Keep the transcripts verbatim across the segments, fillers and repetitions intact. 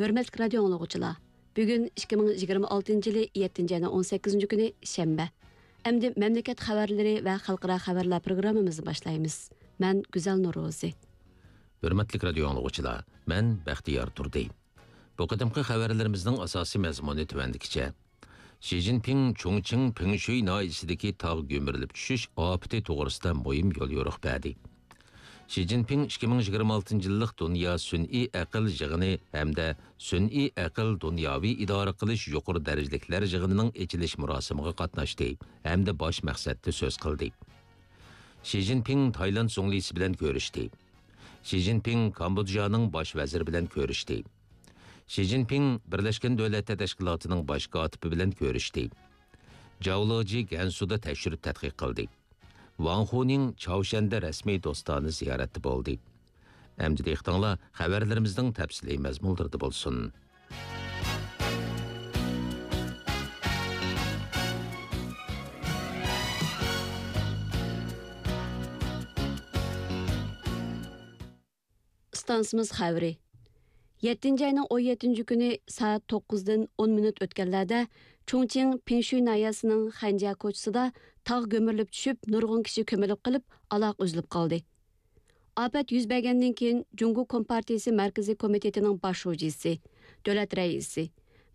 ھۆرمەتلىك رادىيو ئاڭلىغۇچىلار، بۈگۈن ئىككى مىڭ يىگىرمە ئالتىنچى يىلى يەتتىنچى ئاينىڭ ئون سەككىزىنچى كۈنى شەنبە. ئەمدى مەملىكەت خەۋەرلىرى ۋە خەلقئارا خەۋەرلەر پروگراممىمىزنى باشلايمىز. مەن گۈزەل نۇرروزى. ھۆرمەتلىك رادىيو ئاڭلىغۇچىلار، مەن بەختىيار تۇردى. بۇ قېتىمقى خەۋەرلىرىمىزنىڭ ئاساسىي مەزمۇنى تۆۋەندىكىچە. شى جىنپىڭ چۇڭچىڭ پىڭشۈي ناھىيەسىدىكى تاغ گۈمۈرۈلۈپ چۈشۈش ئاپىتى توغرىسىدا مۇھىم يوليورۇق بەردى. شى جىنپىڭ ئىككى مىڭ يىگىرمە ئالتىنچى يىللىق دۇنيا سۈنئىي ئەقىل يىغىنى ھەمدە سۈنئىي ئەقىل دۇنياۋى ئىدارە قىلىش يۇقىرى دەرىجىلىكلەر يىغىنىنىڭ ئېچىلىش مۇراسىمىغا قاتناشتى ھەمدە باش مەقسەتتە سۆز قىلدى. شى جىنپىڭ تايلاند زۇڭلىسى بىلەن كۆرۈشتى. شى جىنپىڭ كامبودژانىڭ باش ۋەزىرى بىلەن كۆرۈشتى. شى جىنپىڭ بىرلەشكەن دۆلەتلەر تەشكىلاتىنىڭ باش كاتىپى بىلەن كۆرۈشتى. جاۋ لېجى گەنسۇدا تەكشۈرۈپ تەتقىق قىلدى. ۋاڭ خۇنىڭ چاۋشەندە رەسمىي دوستانە زىيارەتتە بولدى. ئەمدى دىققىتىڭلار خەۋەرلىرىمىزنىڭ تەپسىلىي مەزمۇنلىرىدا بولسۇن. ئىستانسىمىز خەۋىرى. يەتتىنچى ئاينىڭ ئون يەتتىنچى كۈنى سائەت توققۇزدىن ئون مىنۇت ئۆتكەنلەردە چۇڭچىڭ پىڭشۈي ناھىيەسىنىڭ خەنجيا كوچىسىدا تاغ گۈمۈرۈلۈپ چۈشۈپ، نۇرغۇن كىشى كۆمۈلۈپ قېلىپ، ئالاقە ئۈزۈلۈپ قالدى. ئاپەت يۈز بەرگەندىن كېيىن، جۇڭگو كومپارتىيىسى مەركىزىي كومىتېتىنىڭ باش شۇجىسى، دۆلەت رەئىسى،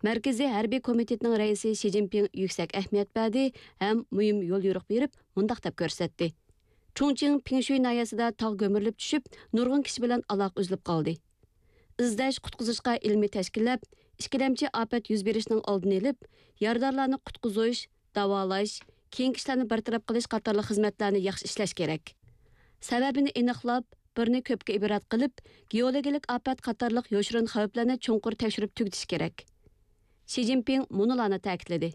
مەركىزىي ھەربىي كومىتېتنىڭ رەئىسى شى جىنپىڭ يۈكسەك ئەھمىيەت بەردى ھەم مۇھىم يوليورۇق بېرىپ، مۇنداق دەپ كۆرسەتتى. چۇڭچىڭ پىڭشۈي ناھىيەسىدە تاغ گۈمۈرۈلۈپ چۈشۈپ، نۇرغۇن كىشى بىلەن ئالاقە ئۈزۈلۈپ قالدى. ئىزدەش، قۇتقۇزۇشقا ئىلمىي تەشكىللەپ، ئىككىلەمچى ئاپەت يۈز بېرىشنىڭ ئالدىنى ئېلىپ، يارىدارلارنى قۇتقۇزۇش، داۋالاش، كېيىنكى ئىشلارنى بىر تەرەپ قىلىش قاتارلىق خىزمەتلەرنى ياخشى ئىشلەش كېرەك. سەۋەبىنى ئېنىقلاپ، بىرنى كۆپكە ئىبرەت قىلىپ، گېئولوگىيەلىك ئاپەت قاتارلىق يوشۇرۇن خەۋپلەرنى چوڭقۇر تەكشۈرۈپ تۈگىتىش كېرەك. شى جىنپىڭ مۇنۇلارنى تەكىتلىدى.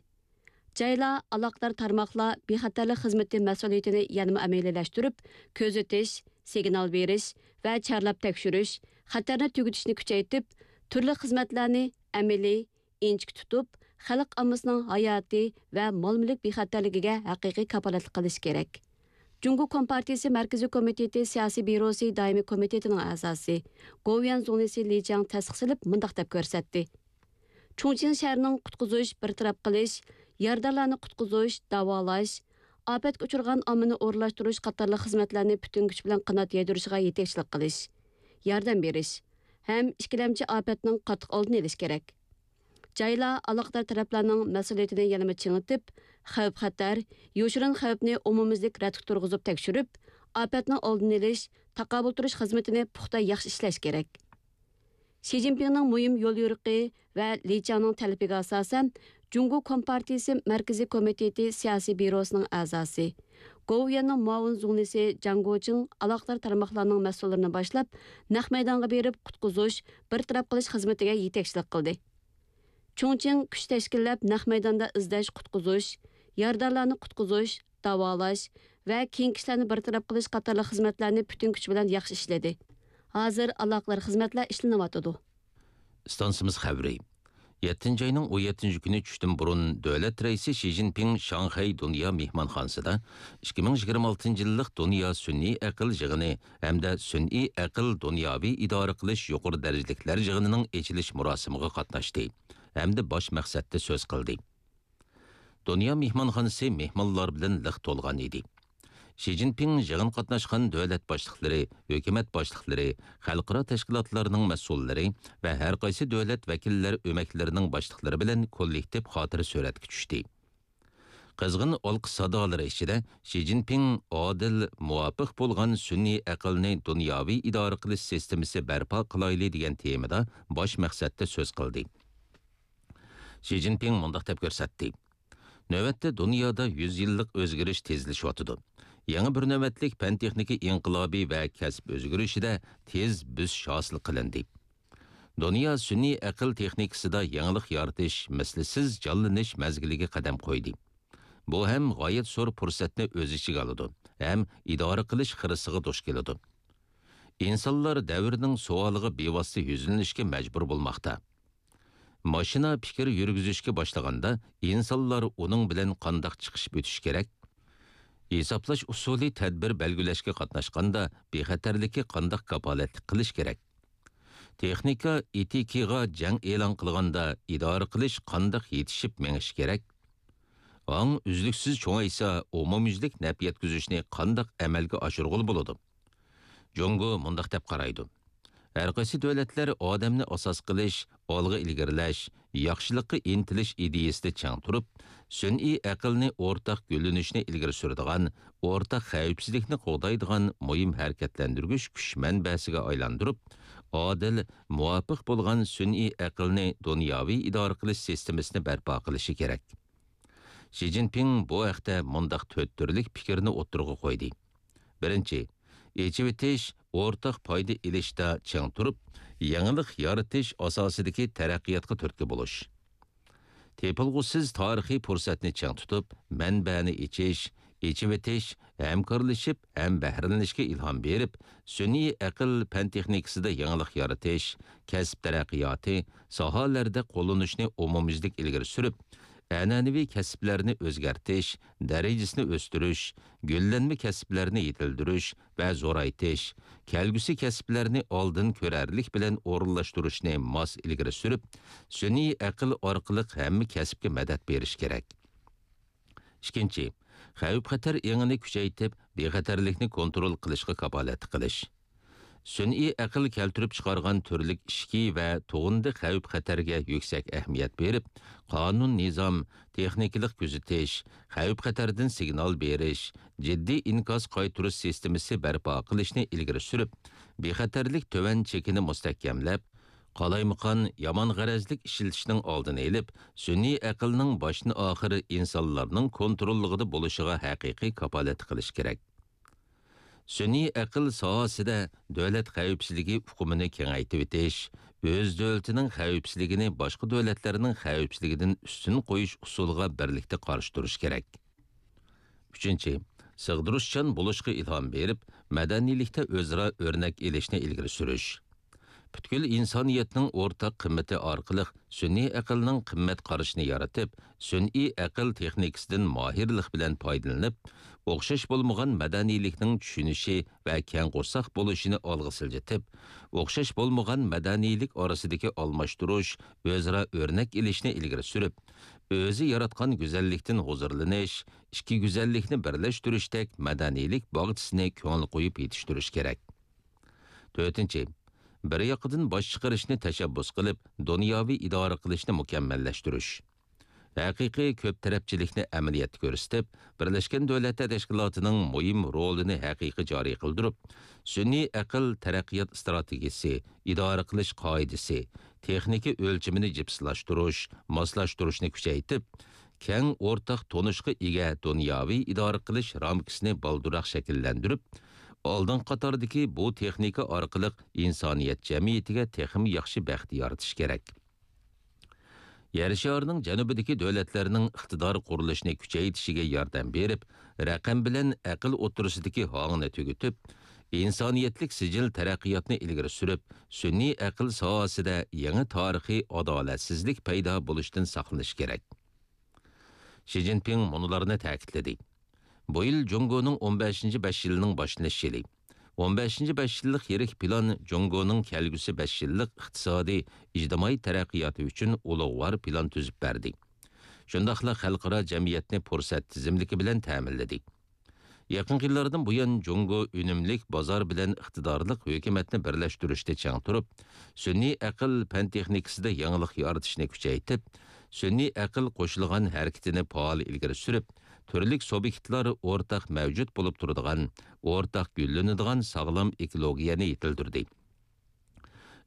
جايلار، ئالاقىدار تارماقلار بىخەتەرلىك خىزمىتى مەسئۇلىيىتىنى يەنىمۇ ئەمەلىيلەشتۈرۈپ، كۆزىتىش، سىگنال بېرىش ۋە چارلاپ تەكشۈرۈش، خەتەرنى تۈگىتىشنى كۈچەيتىپ، تۈرلۈك خىزمەتلەرنى ئەمەلىي، ئىنچىكە تۇتۇپ، خەلق ئاممىسىنىڭ ھاياتى ۋە مال-مۈلۈك بىخەتەرلىكىگە ھەقىقىي كاپالەتلىك قىلىش كېرەك. جۇڭگو كومپارتىيىسى مەركىزىي كومىتېتى سىياسىي بيۇروسى دائىمىي كومىتېتىنىڭ ئەزاسى، گوۋۇيۈەن زۇڭلىسى لى چياڭ تەستىقلىنىپ مۇنداق دەپ كۆرسەتتى. چۇڭچىڭ شەھىرىنىڭ قۇتقۇزۇش، بىر تەرەپ قىلىش، يارىدارلارنى قۇتقۇزۇش، داۋالاش، ئاپەتكە ئۇچرىغان ئاممىنى ئورۇنلاشتۇرۇش قاتارلىق خىزمەتلەرنى پۈتۈن كۈچ بىلەن قانات يايدۇرۇشىغا يېتەكچىلىك قىلىش، ياردەم بېرىش ھەم ئىككىلەمچى ئاپەتنىڭ قاتتىق ئالدىنى ئېلىش كېرەك. جايلار، ئالاقىدار تەرەپلەرنىڭ مەسئۇلىيىتىنى يەنىمۇ چىڭىتىپ، خەۋپ-خەتەر، يوشۇرۇن خەۋپنى ئومۇميۈزلۈك رەتكە تۇرغۇزۇپ تەكشۈرۈپ، ئاپەتنىڭ ئالدىنى ئېلىش، تاقابىل تۇرۇش خىزمىتىنى پۇختا ياخشى ئىشلەش كېرەك. شى جىنپىڭنىڭ مۇھىم يوليورۇقى ۋە لى چياڭنىڭ تەلىپىگە ئاساسەن، جۇڭگو كومپارتىيىسى مەركىزىي كومىتېتى سىياسىي بيۇروسىنىڭ ئەزاسى، گوۋۇيۈەننىڭ مۇئاۋىن زۇڭلىسى جاڭ گوچىڭ ئالاقىدار تارماقلارنىڭ مەسئۇللىرىنى باشلاپ، نەق مەيدانغا بېرىپ قۇتقۇزۇش، بىر تەرەپ قىلىش خىزمىتىگە يېتەكچىلىك قىلدى. چۇڭچىڭ كۈچ تەشكىللەپ، نەق مەيداندا ئىزدەش، قۇتقۇزۇش، يارىدارلارنى قۇتقۇزۇش، داۋالاش ۋە كېيىنكى ئىشلارنى بىر تەرەپ قىلىش قاتارلىق خىزمەتلەرنى پۈتۈن كۈچ بىلەن ياخشى ئىشلىدى. ھازىر ئالاقىدار خىزمەتلەر ئىشلىنىۋاتىدۇ. ئىستانسىمىز خەۋىرى. يەتتىنچى ئاينىڭ ئون يەتتىنچى كۈنى چۈشتىن بۇرۇن دۆلەت رەئىسى شى جىنپىڭ شاڭخەي دۇنيا مېھمانخانىسىدا ئىككى مىڭ يىگىرمە ئالتىنچى يىللىق دۇنيا سۈنئىي ئەقىل يىغىنى ھەمدە سۈنئىي ئەقىل دۇنياۋى ئىدارە قىلىش يۇقىرى دەرىجىلىكلەر يىغىنىنىڭ ئېچىلىش مۇراسىمىغا قاتناشتى ھەمدە باش مەقسەتتە سۆز قىلدى. دۇنيا مېھمانخانىسى مېھمانلار بىلەن لىق تولغان ئىدى. شى جىنپىڭ يىغىن قاتناشقان دۆلەت باشلىقلىرى، ھۆكۈمەت باشلىقلىرى، خەلقئارا تەشكىلاتلارنىڭ مەسئۇللىرى ۋە ھەر قايسى دۆلەت ۋەكىللەر ئۆمەكلىرىنىڭ باشلىقلىرى بىلەن كوللېكتىپ خاتىرە سۈرەتكە چۈشتى. قىزغىن ئالقىش سادالىرى ئىچىدە شى جىنپىڭ ئادىل، مۇۋاپىق بولغان سۈنئىي ئەقىلنى دۇنياۋى ئىدارە قىلىش سىستېمىسى بەرپا قىلايلى دېگەن تېمىدا باش مەقسەتتە سۆز قىلدى. شى جىنپىڭ مۇنداق دەپ كۆرسەتتى: نۆۋەتتە دۇنيادا يۈز يىللىق ئۆزگىرىش تېزلىشىۋاتىدۇ. يېڭى بىر نۆۋەتلىك پەن-تېخنىكا ئىنقىلابى ۋە كەسىپ ئۆزگىرىشىدە تېز بۆسۈش ھاسىل قىلىندى. دۇنيا سۈنئىي ئەقىل تېخنىكىسىدا يېڭىلىق يارىتىش، مىسلىسىز جانلىنىش مەزگىلىگە قەدەم قويدى. بۇ ھەم غايەت زور پۇرسەتنى ئۆز ئىچىگە ئالىدۇ، ھەم ئىدارە قىلىش خىرىسىغا دۇچ كېلىدۇ. ئىنسانلار دەۋرنىڭ سوئالىغا بىۋاسىتە يۈزلىنىشكە مەجبۇر بولماقتا. ماشىنا پىكىر يۈرگۈزۈشكە باشلىغاندا، ئىنسانلار ئۇنىڭ بىلەن قانداق چىقىشىپ ئۆتۈشى كېرەك؟ ھېسابلاش ئۇسۇلى تەدبىر بەلگىلەشكە قاتناشقاندا، بىخەتەرلىككە قانداق كاپالەتلىك قىلىش كېرەك؟ تېخنىكا ئېتىكىغا جەڭ ئېلان قىلغاندا ئىدارە قىلىش قانداق يېتىشىپ مېڭىشى كېرەك؟ ئاڭ ئۈزلۈكسىز چوڭايسا، ئومۇميۈزلۈك نەپ يەتكۈزۈشنى قانداق ئەمەلگە ئاشۇرغىلى بولىدۇ؟ جۇڭگو مۇنداق دەپ قارايدۇ: ھەرقايسى دۆلەتلەر ئادەمنى ئاساس قىلىش، ئالغا ئىلگىرىلەش، ياخشىلىققا ئىنتىلىش ئىدىيىسىدە چىڭ تۇرۇپ، سۈنئىي ئەقىلنى ئورتاق گۈللىنىشنى ئىلگىرى سۈرىدىغان، ئورتاق خەۋپسىزلىكنى قوغدايدىغان مۇھىم ھەرىكەتلەندۈرگۈچ كۈچ مەنبەسىگە ئايلاندۇرۇپ، ئادىل، مۇۋاپىق بولغان سۈنئىي ئەقىلنى دۇنياۋى ئىدارە قىلىش سىستېمىسىنى بەرپا قىلىشى كېرەك. شى جىنپىڭ بۇ ھەقتە مۇنداق تۆت تۈرلۈك پىكىرنى ئوتتۇرىغا قويدى. بىرىنچى، ئېچىۋېتىش، ئورتاق پايدا ئېلىشتا چىڭ تۇرۇپ، يېڭىلىق يارىتىش ئاساسىدىكى تەرەققىياتقا تۈرتكە بولۇش. تېپىلغۇسىز تارىخىي پۇرسەتنى چىڭ تۇتۇپ، مەنبەنى ئېچىش، ئېچىۋېتىش، ھەمكارلىشىپ ھەم بەھرىلىنىشكە ئىلھام بېرىپ، سۈنئىي ئەقىل پەن تېخنىكىسىدا يېڭىلىق يارىتىش، كەسىپ تەرەققىياتى، ساھەلەردە قوللىنىشنى ئومۇميۈزلۈك ئىلگىرى سۈرۈپ، ئەنئەنىۋى كەسىپلەرنى ئۆزگەرتىش، دەرىجىسىنى ئۆستۈرۈش، گۈللەنمە كەسىپلەرنى يېتىلدۈرۈش ۋە زورايتىش، كەلگۈسى كەسىپلەرنى ئالدىن كۆرەرلىك بىلەن ئورۇنلاشتۇرۇشنى ماس ئىلگىرى سۈرۈپ، سۈنئىي ئەقىل ئارقىلىق ھەممە كەسىپكە مەدەت بېرىش كېرەك. ئىككىنچى، خەۋپ-خەتەر ئېڭىنى كۈچەيتىپ، بىخەتەرلىكنى كونترول قىلىشقا كاپالەتلىك قىلىش. سۈنئىي ئەقىل كەلتۈرۈپ چىقارغان تۈرلۈك ئىچكى ۋە تۇغۇندى خەۋپ-خەتەرگە يۈكسەك ئەھمىيەت بېرىپ، قانۇن-نىزام، تېخنىكىلىق كۆزىتىش، خەۋپ-خەتەردىن سىگنال بېرىش، جىددىي ئىنكاس قايتۇرۇش سىستېمىسى بەرپا قىلىشنى ئىلگىرى سۈرۈپ، بىخەتەرلىك تۆۋەن چېكىنى مۇستەھكەملەپ، قالايمىقان، يامان غەرەزلىك ئىشلىتىشنىڭ ئالدىنى ئېلىپ، سۈنئىي ئەقىلنىڭ باشتىن-ئاخىر ئىنسانلارنىڭ كونتروللۇقىدا بولۇشىغا ھەقىقىي كاپالەتلىك قىلىش كېرەك. سۈنئىي ئەقىل ساھەسىدە دۆلەت خەۋپسىزلىكى ئۇقۇمىنى كېڭەيتىۋېتىش، ئۆز دۆلىتىنىڭ خەۋپسىزلىكىنى باشقا دۆلەتلەرنىڭ خەۋپسىزلىكىدىن ئۈستۈن قويۇش ئۇسۇلىغا بىرلىكتە قارشى تۇرۇش كېرەك. ئۈچىنچى، سىغدۇرۇشچان بولۇشقا ئىلھام بېرىپ، مەدەنىيلىكتە ئۆزئارا ئۆرنەك ئېلىشنى ئىلگىرى سۈرۈش. پۈتكۈل ئىنسانىيەتنىڭ ئورتاق قىممىتى ئارقىلىق سۈنئىي ئەقىلنىڭ قىممەت قارىشىنى يارىتىپ، سۈنئىي ئەقىل تېخنىكىسىدىن ماھىرلىق بىلەن پايدىلىنىپ، ئوخشاش بولمىغان مەدەنىيلىكنىڭ چۈشىنىشى ۋە كەڭ قورساق بولۇشىنى ئالغا سىلجىتىپ، ئوخشاش بولمىغان مەدەنىيلىك ئارىسىدىكى ئالماشتۇرۇش، ئۆزئارا ئۆرنەك ئېلىشنى ئىلگىرى سۈرۈپ، ئۆزى ياراتقان گۈزەللىكتىن ھۇزۇرلىنىش، ئىككى گۈزەللىكنى بىرلەشتۈرۈشتەك مەدەنىيلىك باغچىسىنى كۆڭۈل قويۇپ يېتىشتۈرۈش كېرەك. تۆتىنچى، بىر ياقىدىن باش چىقىرىشنى تەشەببۇس قىلىپ، دۇنياۋى ئىدارە قىلىشنى مۇكەممەللەشتۈرۈش. ھەقىقىي كۆپ تەرەپچىلىكنى ئەمەلىيەتتە كۆرسىتىپ، بىرلەشكەن دۆلەتلەر تەشكىلاتىنىڭ مۇھىم رولىنى ھەقىقىي جارى قىلدۇرۇپ، سۈنئىي ئەقىل تەرەققىيات ئىستراتېگىيىسى، ئىدارە قىلىش قائىدىسى، تېخنىكا ئۆلچىمىنى جىپسىلاشتۇرۇش، ماسلاشتۇرۇشنى كۈچەيتىپ، كەڭ ئورتاق تونۇشقا ئىگە دۇنياۋى ئىدارە قىلىش رامكىسىنى بالدۇرراق شەكىللەندۈرۈپ، ئالدىنقى قاتاردىكى بۇ تېخنىكا ئارقىلىق ئىنسانىيەت جەمئىيىتىگە تېخىمۇ ياخشى بەخت يارىتىش كېرەك. يەر شارىنىڭ جەنۇبىدىكى دۆلەتلەرنىڭ ئىقتىدار قۇرۇلۇشىنى كۈچەيتىشىگە ياردەم بېرىپ، رەقەم بىلەن ئەقىل ئوتتۇرىسىدىكى ھاڭنى تۈگىتىپ، ئىنسانىيەتلىك سىجىل تەرەققىياتنى ئىلگىرى سۈرۈپ، سۈنئىي ئەقىل ساھەسىدە يېڭى تارىخىي ئادالەتسىزلىك پەيدا بولۇشتىن ساقلىنىش كېرەك. شى جىنپىڭ مۇنۇلارنى تەكىتلىدى: بۇ يىل جۇڭگونىڭ ئون بەشىنچى بەش يىلىنىڭ باشلىنىش يىلى. ئون بەشىنچى بەش يىللىق يىرىك پىلان جۇڭگونىڭ كەلگۈسى بەش يىللىق ئىقتىسادىي، ئىجتىمائىي تەرەققىياتى ئۈچۈن ئۇلۇغۋار پىلان تۈزۈپ بەردى. شۇنداقلا خەلقئارا جەمئىيەتنى پۇرسەت تىزىملىكى بىلەن تەمىنلىدى. يېقىنقى يىللاردىن بۇيان، جۇڭگو ئۈنۈملۈك بازار بىلەن ئىقتىدارلىق ھۆكۈمەتنى بىرلەشتۈرۈشتە چىڭ تۇرۇپ، سۈنئىي ئەقىل پەن تېخنىكىسىدا يېڭىلىق يارىتىشنى كۈچەيتىپ، سۈنئىي ئەقىل قوشۇلغان ھەرىكىتىنى پائال ئىلگىرى سۈرۈپ، تۈرلۈك سۇبيېكتلار ئورتاق مەۋجۇت بولۇپ تۇرىدىغان، ئورتاق گۈللىنىدىغان ساغلام ئېكولوگىيەنى يېتىلدۈردى.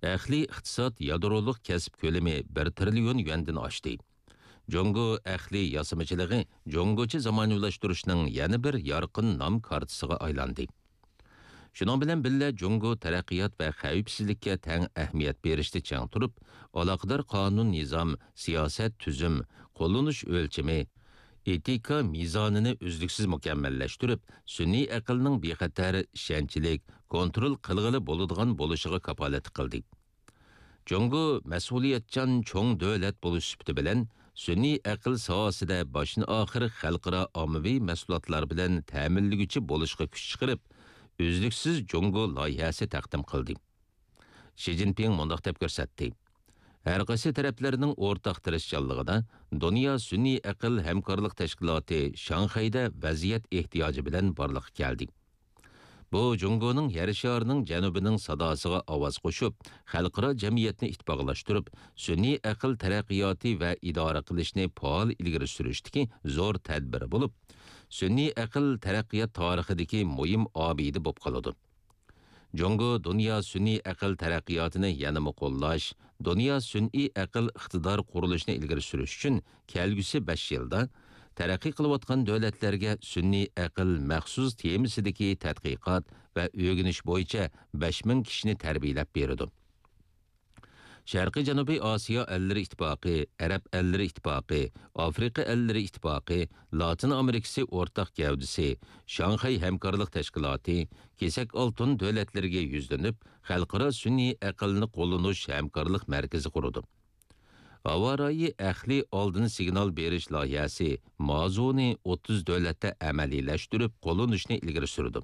ئەقلىي ئىقتىساد يادرولۇق كەسىپ كۆلىمى بىر تىرىليون يۈەندىن ئاشتى. جۇڭگو ئەقلىي ياسىمىچىلىقى جۇڭگوچە زامانىۋىلاشتۇرۇشنىڭ يەنە بىر يارقىن نام كارتىسىغا ئايلاندى. شۇنىڭ بىلەن بىللە، جۇڭگو تەرەققىيات ۋە خەۋپسىزلىككە تەڭ ئەھمىيەت بېرىشتە چىڭ تۇرۇپ، ئالاقىدار قانۇن-نىزام، سىياسەت، تۈزۈم، قوللىنىش ئۆلچىمى، ئېتىكا مىزانىنى ئۈزلۈكسىز مۇكەممەللەشتۈرۈپ، سۈنئىي ئەقىلنىڭ بىخەتەر، ئىشەنچلىك، كونترول قىلغىلى بولىدىغان بولۇشىغا كاپالەتلىك قىلدى. جۇڭگو مەسئۇلىيەتچان چوڭ دۆلەت بولۇش سۈپىتى بىلەن، سۈنئىي ئەقىل ساھەسىدە باشتىن-ئاخىر خەلقئارا ئاممىۋى مەھسۇلاتلار بىلەن تەمىنلىگۈچى بولۇشقا كۈچ چىقىرىپ، ئۈزلۈكسىز جۇڭگو لايىھەسى تەقدىم قىلدى. شى جىنپىڭ مۇنداق دەپ كۆرسەتتى: ھەر قايسى تەرەپلەرنىڭ ئورتاق تىرىشچانلىقىدا دۇنيا سۈنئىي ئەقىل ھەمكارلىق تەشكىلاتى شاڭخەيدە ۋەزىيەت ئېھتىياجى بىلەن بارلىققا كەلدى. بۇ جۇڭگونىڭ يەر شارىنىڭ جەنۇبىنىڭ ساداسىغا ئاۋاز قوشۇپ، خەلقئارا جەمئىيەتنى ئىتتىپاقلاشتۇرۇپ، سۈنئىي ئەقىل تەرەققىياتى ۋە ئىدارە قىلىشنى پائال ئىلگىرى سۈرۈشتىكى زور تەدبىرى بولۇپ، سۈنئىي ئەقىل تەرەققىيات تارىخىدىكى مۇھىم ئابىدە بولۇپ قالىدۇ. جۇڭگو دۇنيا سۈنئىي ئەقىل تەرەققىياتىنى يەنىمۇ قوللاش، دۇنيا سۈنئىي ئەقىل ئىقتىدار قۇرۇلۇشىنى ئىلگىرى سۈرۈش ئۈچۈن كەلگۈسى بەش يىلدا تەرەققىي قىلىۋاتقان دۆلەتلەرگە سۈنئىي ئەقىل مەخسۇس تېمىسىدىكى تەتقىقات ۋە ئۆگىنىش بويىچە بەش مىڭ كىشىنى تەربىيەلەپ بېرىدۇ. شەرقىي جەنۇبىي ئاسىيا ئەللىرى ئىتتىپاقى، ئەرەب ئەللىرى ئىتتىپاقى، ئافرىقا ئەللىرى ئىتتىپاقى، لاتىن ئامېرىكىسى ئورتاق گەۋدىسى، شاڭخەي ھەمكارلىق تەشكىلاتى، كېسەك ئالتۇن دۆلەتلىرىگە يۈزلىنىپ، خەلقئارا سۈنئىي ئەقىلنى قوللىنىش ھەمكارلىق مەركىزى قۇرىدۇ. ھاۋا رايى ئەقلىي ئالدىن سىگنال بېرىش لايىھەسى مازۇنى ئوتتۇز دۆلەتتە ئەمەلىيلەشتۈرۈپ قوللىنىشنى ئىلگىرى سۈرىدۇ.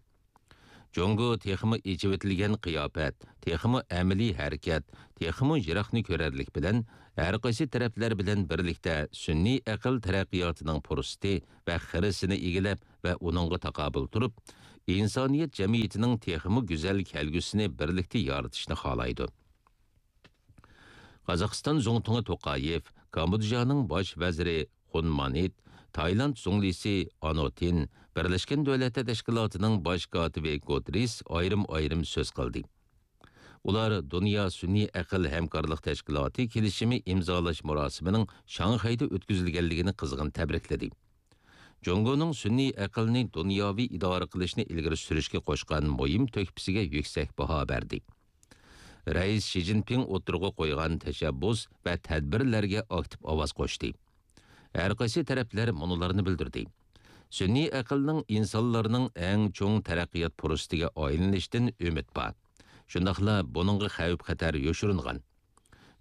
جۇڭگو تېخىمۇ ئېچىۋېتىلگەن قىياپەت، تېخىمۇ ئەمەلىي ھەرىكەت، تېخىمۇ يىراقنى كۆرەرلىك بىلەن ھەر قايسى تەرەپلەر بىلەن بىرلىكتە سۈنئىي ئەقىل تەرەققىياتىنىڭ پۇرسىتى ۋە خىرىسىنى ئىگىلەپ ۋە ئۇنىڭغا تاقابىل تۇرۇپ، ئىنسانىيەت جەمئىيىتىنىڭ تېخىمۇ گۈزەل كەلگۈسىنى بىرلىكتە يارىتىشنى خالايدۇ. قازاقىستان زۇڭتۇڭى توقايېف، كامبودژانىڭ باش ۋەزىرى خۇن مانىت، تايلاند زۇڭلىسى ئانوتىن، بىرلەشكەن دۆلەتلەر تەشكىلاتىنىڭ باش كاتىپى گۇتېررېس ئايرىم-ئايرىم سۆز قىلدى. ئۇلار دۇنيا سۈنئىي ئەقىل ھەمكارلىق تەشكىلاتى كېلىشىمى ئىمزالاش مۇراسىمىنىڭ شاڭخەيدە ئۆتكۈزۈلگەنلىكىنى قىزغىن تەبرىكلىدى. جۇڭگونىڭ سۈنئىي ئەقىلنى دۇنياۋى ئىدارە قىلىشنى ئىلگىرى سۈرۈشكە قوشقان مۇھىم تۆھپىسىگە يۈكسەك باھا بەردى. رەئىس شى جىنپىڭ ئوتتۇرىغا قويغان تەشەببۇس ۋە تەدبىرلەرگە ئاكتىپ ئاۋاز قوشتى. ھەر قايسى تەرەپلەر مۇنۇلارنى بىلدۈردى. سۈنئىي ئەقىلنىڭ ئىنسانلارنىڭ ئەڭ چوڭ تەرەققىيات پۇرسىتىگە ئايلىنىشىدىن ئۈمىد بار. شۇنداقلا بۇنىڭغا خەۋپ-خەتەر يوشۇرۇنغان.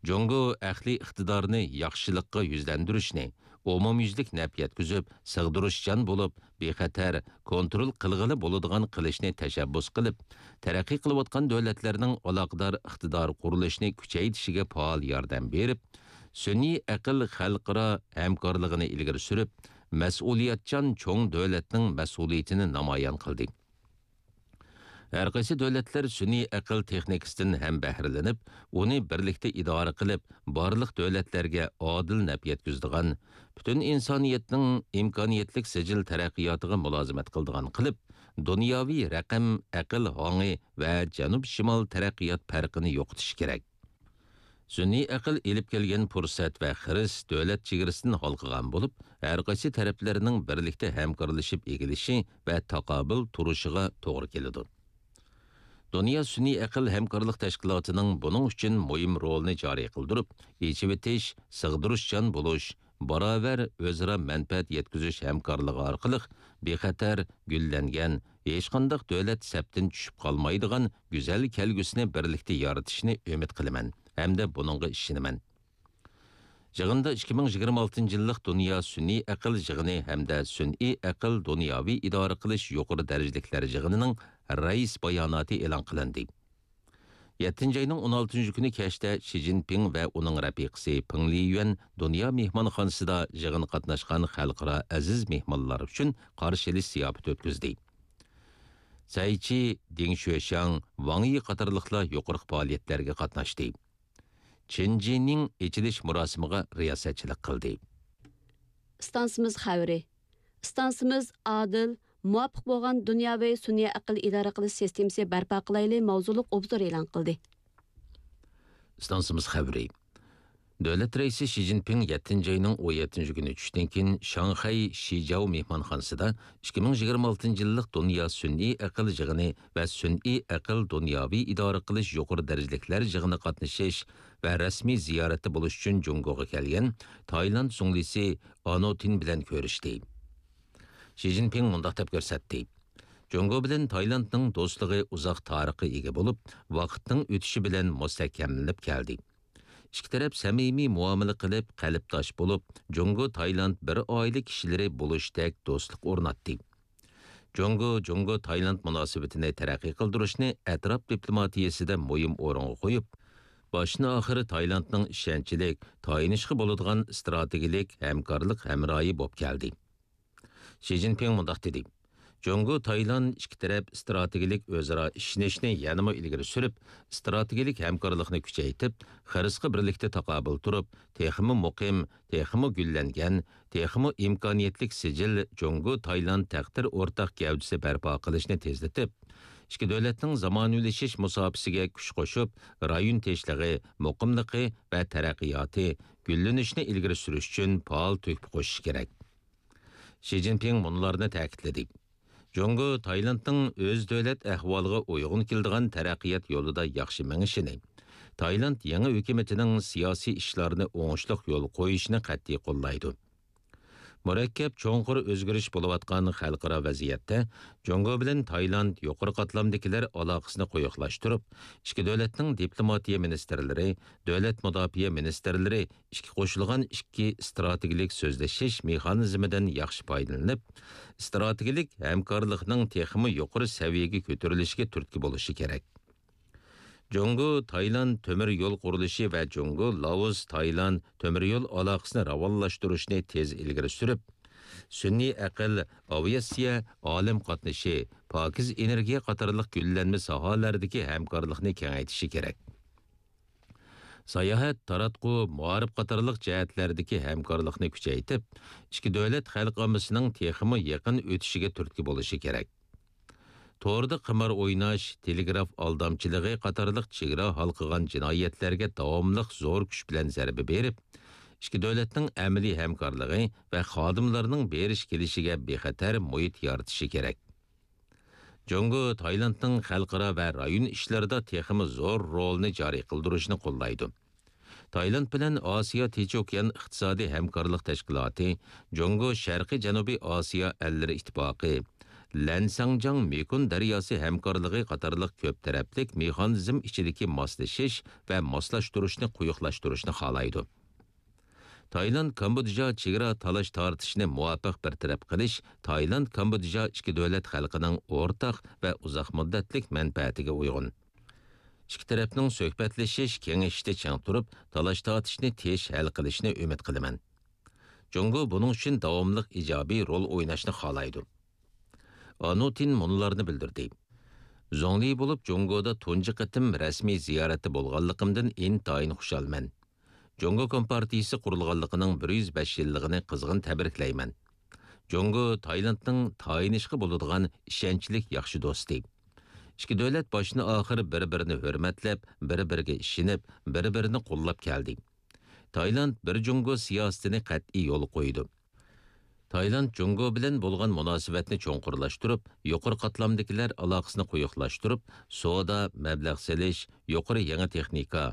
جۇڭگو ئەقلىي ئىقتىدارنى ياخشىلىققا يۈزلەندۈرۈشنى، ئومۇميۈزلۈك نەپ يەتكۈزۈپ، سىغدۇرۇشچان بولۇپ، بىخەتەر، كونترول قىلغىلى بولىدىغان قىلىشنى تەشەببۇس قىلىپ، تەرەققىي قىلىۋاتقان دۆلەتلەرنىڭ ئالاقىدار ئىقتىدار قۇرۇلۇشىنى كۈچەيتىشىگە پائال ياردەم بېرىپ، سۈنئىي ئەقىل خەلقئارا ھەمكارلىقىنى ئىلگىرى سۈرۈپ، مەسئۇلىيەتچان چوڭ دۆلەتنىڭ مەسئۇلىيىتىنى نامايان قىلدى. ھەر قايسى دۆلەتلەر سۈنئىي ئەقىل تېخنىكىسىدىن ھەم بەھرىلىنىپ، ئۇنى بىرلىكتە ئىدارە قىلىپ، بارلىق دۆلەتلەرگە ئادىل نەپ يەتكۈزىدىغان، پۈتۈن ئىنسانىيەتنىڭ ئىمكانىيەتلىك سىجىل تەرەققىياتىغا مۇلازىمەت قىلىدىغان قىلىپ، دۇنياۋى رەقەم ئەقىل ھاڭى ۋە جەنۇب-شىمال تەرەققىيات پەرقىنى يوقىتىشى كېرەك. سۈنئىي ئەقىل ئېلىپ كەلگەن پۇرسەت ۋە خىرىس دۆلەت چېگرىسىدىن ھالقىغان بولۇپ، ھەر قايسى تەرەپلەرنىڭ بىرلىكتە ھەمكارلىشىپ ئېگىلىشى ۋە تاقابىل تۇرۇشىغا توغرا كېلىدۇ. دۇنيا سۈنئىي ئەقىل ھەمكارلىق تەشكىلاتىنىڭ بۇنىڭ ئۈچۈن مۇھىم رولىنى جارى قىلدۇرۇپ، ئېچىۋېتىش، سىغدۇرۇشچان بولۇش، باراۋەر ئۆزئارا مەنپەئەت يەتكۈزۈش ھەمكارلىقى ئارقىلىق بىخەتەر، گۈللەنگەن، ھېچقانداق دۆلەت سەپتىن چۈشۈپ قالمايدىغان گۈزەل كەلگۈسىنى بىرلىكتە يارىتىشىنى ئۈمىد قىلىمەن ھەمدە بۇنىڭغا ئىشىنىمەن. يىغىندا ئىككى مىڭ يىگىرمە ئالتىنچى يىللىق دۇنيا سۈنئىي ئەقىل يىغىنى ھەمدە سۈنئىي ئەقىل دۇنياۋى ئىدارە قىلىش يۇقىرى دەرىجىلىكلەر يىغىنىنىڭ رەئىس باياناتى ئېلان قىلىندى. يەتتىنچى ئاينىڭ ئون ئالتىنچى كۈنى كەچتە شى جىنپىڭ ۋە ئۇنىڭ رەپىقىسى پېڭ لىيۈەن دۇنيا مېھمانخانىسىدا يىغىنغا قاتناشقان خەلقئارا ئەزىز مېھمانلار ئۈچۈن قارشى ئېلىش زىياپىتى ئۆتكۈزدى. سەي چى، دېڭ شۈەشياڭ، ۋاڭ يى قاتارلىقلار يۇقىرىقى پائالىيەتلەرگە قاتناشتى. چېن جىنىڭ ئېچىلىش مۇراسىمىغا رىياسەتچىلىك قىلدى. ئىستانسىمىز خەۋىرى. ئىستانسىمىز ئادىل، مۇۋاپىق بولغان دۇنياۋى سۈنئىي ئەقىل ئىدارە قىلىش سىستېمىسى بەرپا قىلايلى ماۋزۇلۇق ئوبزور ئېلان قىلدى. ئىستانسىمىز خەۋىرى. دۆلەت رەئىسى شى جىنپىڭ يەتتىنچى ئاينىڭ ئون يەتتىنچى كۈنى چۈشتىن كېيىن شاڭخەي شىجاۋ مېھمانخانىسىدا ئىككى مىڭ يىگىرمە ئالتىنچى يىللىق دۇنيا سۈنئىي ئەقىل يىغىنى ۋە سۈنئىي ئەقىل دۇنياۋى ئىدارە قىلىش يۇقىرى دەرىجىلىكلەر يىغىنىغا قاتنىشىش ۋە رەسمىي زىيارەتتە بولۇش ئۈچۈن جۇڭگوغا كەلگەن تايلاند زۇڭلىسى ئانوتىن بىلەن كۆرۈشتى. شى جىنپىڭ مۇنداق دەپ كۆرسەتتى: جۇڭگو بىلەن تايلاندنىڭ دوستلۇقى ئۇزاق تارىخقا ئىگە بولۇپ، ۋاقىتنىڭ ئۆتۈشى بىلەن مۇستەھكەملىنىپ كەلدى. ئىككى تەرەپ سەمىمىي مۇئامىلە قىلىپ، قەلبداش بولۇپ، جۇڭگو تايلاند بىر ئائىلە كىشىلىرى بولۇشتەك دوستلۇق ئورناتتى. جۇڭگو، جۇڭگو تايلاند مۇناسىۋىتىنى تەرەققىي قىلدۇرۇشنى ئەتراپ دىپلوماتىيەسىدە مۇھىم ئورۇنغا قويۇپ، باشتىن-ئاخىر تايلاندنىڭ ئىشەنچلىك، تايىنىشقا بولىدىغان ئىستراتېگىيەلىك ھەمكارلىق ھەمراھى بولۇپ كەلدى. شى جىنپىڭ مۇنداق دېدى: جۇڭگو تايلاند ئىككى تەرەپ ئىستراتېگىيەلىك ئۆزئارا ئىشىنىشنى يەنىمۇ ئىلگىرى سۈرۈپ، ئىستراتېگىيەلىك ھەمكارلىقنى كۈچەيتىپ، خىرىسقا بىرلىكتە تاقابىل تۇرۇپ، تېخىمۇ مۇقىم، تېخىمۇ گۈللەنگەن، تېخىمۇ ئىمكانىيەتلىك سىجىل جۇڭگو تايلاند تەقدىر ئورتاق گەۋدىسى بەرپا قىلىشنى تېزلىتىپ، ئىككى دۆلەتنىڭ زامانىۋىلىشىش مۇساپىسىگە كۈچ قوشۇپ، رايون تىنچلىقى، مۇقىملىقى ۋە تەرەققىياتى، گۈللىنىشىنى ئىلگىرى سۈرۈش ئۈچۈن پائال تۆھپە قوشۇش كېرەك. شى جىنپىڭ مۇنۇلارنى تەكىتلىدى: جۇڭگو تايلاندنىڭ ئۆز دۆلەت ئەھۋالىغا ئۇيغۇن كېلىدىغان تەرەققىيات يولىدا ياخشى مېڭىشىنى، تايلاند يېڭى ھۆكۈمىتىنىڭ سىياسىي ئىشلارنى ئوڭۇشلۇق يولغا قويۇشىنى قەتئىي قوللايدۇ. مۇرەككەپ، چوڭقۇر ئۆزگىرىش بولۇۋاتقان خەلقئارا ۋەزىيەتتە جۇڭگو بىلەن تايلاند يۇقىرى قاتلامدىكىلەر ئالاقىسىنى قويۇقلاشتۇرۇپ، ئىككى دۆلەتنىڭ دىپلوماتىيە مىنىستىرلىرى، دۆلەت مۇداپىئە مىنىستىرلىرى ئىككى قوشۇلغان ئىككى ئىستراتېگىيەلىك سۆزلىشىش مېخانىزمىدىن ياخشى پايدىلىنىپ، ئىستراتېگىيەلىك ھەمكارلىقنىڭ تېخىمۇ يۇقىرى سەۋىيەگە كۆتۈرۈلۈشىگە تۈرتكە بولۇشى كېرەك. جۇڭگو تايلاند تۆمۈر يول قۇرۇلۇشى ۋە جۇڭگو لائوس تايلاند تۆمۈر يول ئالاقىسىنى راۋانلاشتۇرۇشنى تېز ئىلگىرى سۈرۈپ، سۈنئىي ئەقىل، ئاۋىئاتسىيە، ئالەم قاتنىشى، پاكىز ئېنېرگىيە قاتارلىق گۈللەنمە ساھەلەردىكى ھەمكارلىقنى كېڭەيتىشى كېرەك. ساياھەت، تاراتقۇ، مائارىپ قاتارلىق جەھەتلەردىكى ھەمكارلىقنى كۈچەيتىپ، ئىككى دۆلەت خەلق ئاممىسىنىڭ تېخىمۇ يېقىن ئۆتۈشىگە تۈرتكە بولۇشى كېرەك. توردا قىمار ئويناش، تېلېگراف ئالدامچىلىقى قاتارلىق چېگرا ھالقىغان جىنايەتلەرگە داۋاملىق زور كۈچ بىلەن زەربە بېرىپ، ئىككى دۆلەتنىڭ ئەمەلىي ھەمكارلىقى ۋە خادىملارنىڭ بېرىش-كېلىشىگە بىخەتەر مۇھىت يارىتىشى كېرەك. جۇڭگو تايلاندنىڭ خەلقئارا ۋە رايون ئىشلىرىدا تېخىمۇ زور رولىنى جارى قىلدۇرۇشنى قوللايدۇ. تايلاند بىلەن ئاسىيا تىنچ ئوكيان ئىقتىسادىي ھەمكارلىق تەشكىلاتى، جۇڭگو شەرقىي جەنۇبىي ئاسىيا ئەللىرى ئىتتىپاقى، لەنساڭجاڭ مېكون دەرياسى ھەمكارلىقى قاتارلىق كۆپ تەرەپلىك مېخانىزم ئىچىدىكى ماسلىشىش ۋە ماسلاشتۇرۇشنى قويۇقلاشتۇرۇشنى خالايدۇ. تايلاند كامبودژا چېگرا تالاش تارتىشىنى مۇۋاپىق بىر تەرەپ قىلىش تايلاند كامبودژا ئىككى دۆلەت خەلقىنىڭ ئورتاق ۋە ئۇزاق مۇددەتلىك مەنپەئەتىگە ئۇيغۇن. ئىككى تەرەپنىڭ سۆھبەتلىشىش، كېڭىشىشتە چىڭ تۇرۇپ، تالاش-تارتىشنى تېز ھەل قىلىشىنى ئۈمىد قىلىمەن. جۇڭگو بۇنىڭ ئۈچۈن داۋاملىق ئىجابىي رول ئويناشنى خالايدۇ. ئانۇتىن مۇنۇلارنى بىلدۈردى: زۇڭلى بولۇپ جۇڭگودا تۇنجى قېتىم رەسمىي زىيارەتتە بولغانلىقىمدىن ئىنتايىن خۇشالمەن. جۇڭگو كومپارتىيىسى قۇرۇلغانلىقىنىڭ بىر يۈز بەش يىللىقىنى قىزغىن تەبرىكلەيمەن. جۇڭگو تايلاندنىڭ تايىنىشقا بولىدىغان ئىشەنچلىك ياخشى دوستى. ئىككى دۆلەت باشتىن-ئاخىر بىر-بىرىنى ھۆرمەتلەپ، بىر-بىرىگە ئىشىنىپ، بىر-بىرىنى قوللاپ كەلدى. تايلاند بىر جۇڭگو سىياسىتىنى قەتئىي يولغا قويىدۇ. تايلاند جۇڭگو بىلەن بولغان مۇناسىۋەتنى چوڭقۇرلاشتۇرۇپ، يۇقىرى قاتلامدىكىلەر ئالاقىسىنى قويۇقلاشتۇرۇپ، سودا، مەبلەغ سېلىش، يۇقىرى يېڭى تېخنىكا،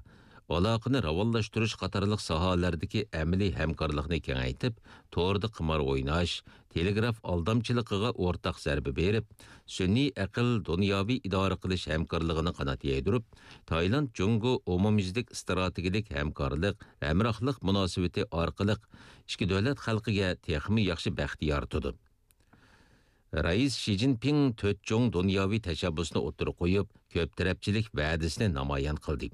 ئالاقىنى راۋانلاشتۇرۇش قاتارلىق ساھەلەردىكى ئەمەلىي ھەمكارلىقنى كېڭەيتىپ، توردا قىمار ئويناش، تېلېگراف ئالدامچىلىقىغا ئورتاق زەربە بېرىپ، سۈنئىي ئەقىل، دۇنياۋى ئىدارە قىلىش ھەمكارلىقىنى قانات يايدۇرۇپ، تايلاند جۇڭگو ئومۇميۈزلۈك ئىستراتېگىيەلىك ھەمكارلىق، ھەمراھلىق مۇناسىۋىتى ئارقىلىق ئىككى دۆلەت خەلقىگە تېخىمۇ ياخشى بەخت يارىتىدۇ. رەئىس شى جىنپىڭ تۆت چوڭ دۇنياۋى تەشەببۇسنى ئوتتۇرىغا قويۇپ، كۆپ تەرەپچىلىك ۋەدىسىنى نامايان قىلدى.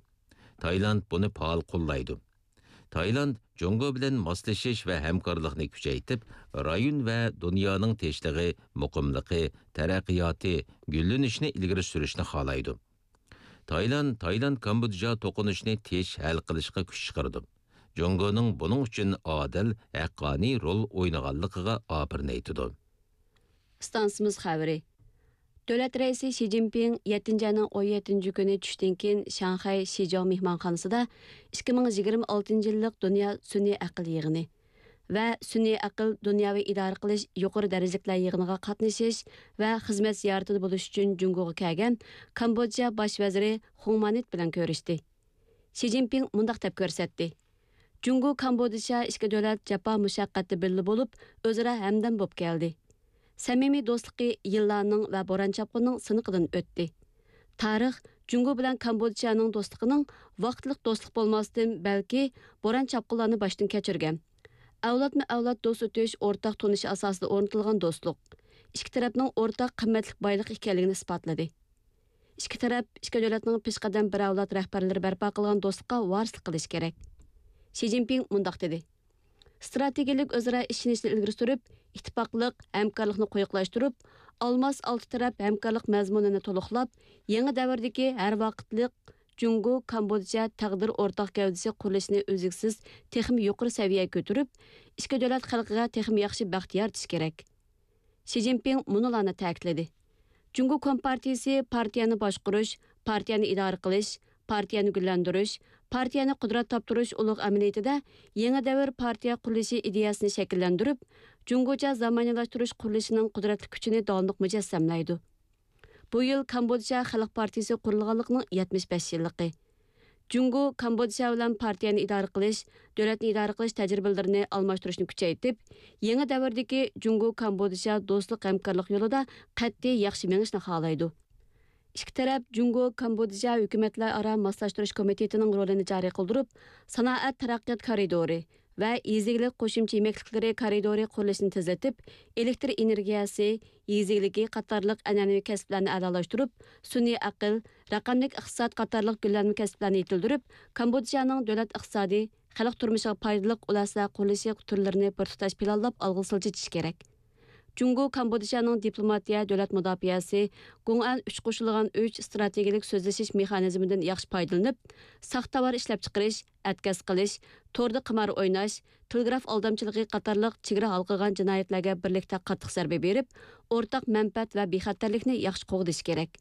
تايلاند بۇنى پائال قوللايدۇ. تايلاند جۇڭگو بىلەن ماسلىشىش ۋە ھەمكارلىقنى كۈچەيتىپ، رايون ۋە دۇنيانىڭ تىنچلىقى، مۇقىملىقى، تەرەققىياتى، گۈللىنىشىنى ئىلگىرى سۈرۈشنى خالايدۇ. تايلاند، تايلاند كامبودژا توقۇنۇشىنى تىنچ ھەل قىلىشقا كۈچ چىقىرىدۇ. جۇڭگونىڭ بۇنىڭ ئۈچۈن ئادىل، ھەققانىي رول ئوينىغانلىقىغا ئاپىرىن ئېيتىدۇ. ئىستانسىمىز خەۋىرى. دۆلەت رەئىسى شى جىنپىڭ يەتتىنچى ئاينىڭ ئون يەتتىنچى كۈنى چۈشتىن كېيىن شاڭخەي شىجاۋ مېھمانخانىسىدا ئىككى مىڭ يىگىرمە ئالتىنچى يىللىق دۇنيا سۈنئىي ئەقىل يىغىنى ۋە سۈنئىي ئەقىل دۇنياۋى ئىدارە قىلىش يۇقىرى دەرىجىلىكلەر يىغىنىغا قاتنىشىش ۋە خىزمەت زىيارىتىدە بولۇش ئۈچۈن جۇڭگوغا كەلگەن كامبودژا باش ۋەزىرى خۇڭ مانىت بىلەن كۆرۈشتى. شى جىنپىڭ مۇنداق دەپ كۆرسەتتى: جۇڭگو كامبودژا ئىككى دۆلەت جاپا مۇشەققەتتە بىللە بولۇپ، ئۆزئارا ھەمدەم بولۇپ كەلدى. سەمىمىي دوستلۇقى يىللارنىڭ ۋە بوران-چاپقۇننىڭ سىنىقىدىن ئۆتتى. تارىخ جۇڭگو بىلەن كامبودژانىڭ دوستلۇقىنىڭ ۋاقىتلىق دوستلۇق بولماستىن، بەلكى بوران-چاپقۇنلارنى باشتىن كەچۈرگەن، ئەۋلادمۇ-ئەۋلاد دوست ئۆتۈش ئورتاق تونۇشى ئاساسىدا ئورنىتىلغان دوستلۇق، ئىككى تەرەپنىڭ ئورتاق قىممەتلىك بايلىق ئىكەنلىكىنى ئىسپاتلىدى. ئىككى تەرەپ، ئىككى دۆلەتنىڭ پېشقەدەم بىر ئەۋلاد رەھبەرلىرى بەرپا قىلغان دوستلۇققا ۋارىسلىق قىلىشى كېرەك. شى جىنپىڭ مۇنداق دېدى: ئىستراتېگىيەلىك ئۆزئارا ئىشىنىشنى ئىلگىرى سۈرۈپ، ئىتتىپاقلىق، ھەمكارلىقنى قويۇقلاشتۇرۇپ، ئالماس ئالتە تەرەپ ھەمكارلىق مەزمۇنىنى تولۇقلاپ، يېڭى دەۋردىكى ھەر ۋاقىتلىق جۇڭگو كامبودژا تەقدىر ئورتاق گەۋدىسى قۇرۇلۇشىنى ئۈزلۈكسىز تېخىمۇ يۇقىرى سەۋىيەگە كۆتۈرۈپ، ئىككى دۆلەت خەلقىگە تېخىمۇ ياخشى بەخت يارىتىش كېرەك. شى جىنپىڭ مۇنۇلارنى تەكىتلىدى: جۇڭگو كومپارتىيىسى پارتىيەنى باشقۇرۇش، پارتىيەنى ئىدارە قىلىش، پارتىيەنى گۈللەندۈرۈش، پارتىيەنى قۇدرەت تاپتۇرۇش ئۇلۇغ ئەمەلىيىتىدە يېڭى دەۋر پارتىيە قۇرۇلۇشى ئىدىيەسىنى شەكىللەندۈرۈپ، جۇڭگوچە زامانىۋىلاشتۇرۇش قۇرۇلۇشىنىڭ قۇدرەتلىك كۈچىنى داۋاملىق مۇجەسسەملەيدۇ. بۇ يىل كامبودژا خەلق پارتىيىسى قۇرۇلغانلىقىنىڭ يەتمىش بەش يىللىقى. جۇڭگو كامبودژا بىلەن پارتىيەنى ئىدارە قىلىش، دۆلەتنى ئىدارە قىلىش تەجرىبىلىرىنى ئالماشتۇرۇشنى كۈچەيتىپ، يېڭى دەۋردىكى جۇڭگو كامبودژا دوستلۇق ھەمكارلىق يولىدا قەتئىي ياخشى مېڭىشنى خالايدۇ. ئىككى تەرەپ جۇڭگو كامبودژا ھۆكۈمەتلەر ئارا ماسلاشتۇرۇش كومىتېتىنىڭ رولىنى جارى قىلدۇرۇپ، سانائەت تەرەققىيات كارىدورى ۋە يېزا ئىگىلىك قوشۇمچە يېمەكلىكلىرى كارىدورى قۇرۇلۇشىنى تېزلىتىپ، ئېلېكتر ئېنېرگىيەسى، يېزا ئىگىلىكى قاتارلىق ئەنئەنىۋى كەسىپلەرنى ئەلالاشتۇرۇپ، سۈنئىي ئەقىل، رەقەملىك ئىقتىساد قاتارلىق گۈللەنمە كەسىپلەرنى يېتىلدۈرۈپ، كامبودژانىڭ دۆلەت ئىقتىسادى، خەلق تۇرمۇشىغا پايدىلىق ئۇل ئەسلىھە قۇرۇلۇشى تۈرلىرىنى بىر تۇتاش پىلانلاپ ئالغا سىلجىتىش كېرەك. جۇڭگو كامبودژانىڭ دىپلوماتىيە، دۆلەت مۇداپىئەسى، گۇڭئەن ئۈچ قوشۇلغان ئۈچ ئىستراتېگىيەلىك سۆزلىشىش مېخانىزمىدىن ياخشى پايدىلىنىپ، ساختا تاۋار ئىشلەپچىقىرىش، ئەتكەس قىلىش، توردا قىمار ئويناش، تېلېگراف ئالدامچىلىقى قاتارلىق چېگرا ھالقىغان جىنايەتلەرگە بىرلىكتە قاتتىق زەربە بېرىپ، ئورتاق مەنپەئەت ۋە بىخەتەرلىكنى ياخشى قوغدىشى كېرەك.